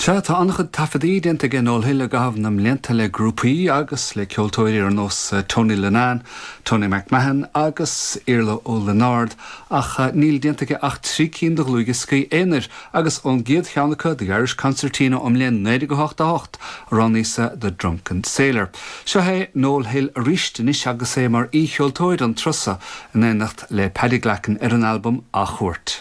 Sea, tá an-chuid taifeadaí déanta aige Noel Hill i gcaitheamh na mblianta le grúpaí agus le ceoltóirí ar nós Tony Linnane, Tony MacMahon agus Iarla Ó Lionáird ach níl déanta aige ach 3 cinn de dhlúthdhioscaí aonair agus ón gcéad cheann acu, The Irish Concertina ón mbliain 1988, a roghnaíos-sa The Drunken Sailor. Seo é Noel Hill arís anois agus é mar aoi-cheoltóir an turas seo in éineacht le Paddy Glackin ar an albam Athchuairt.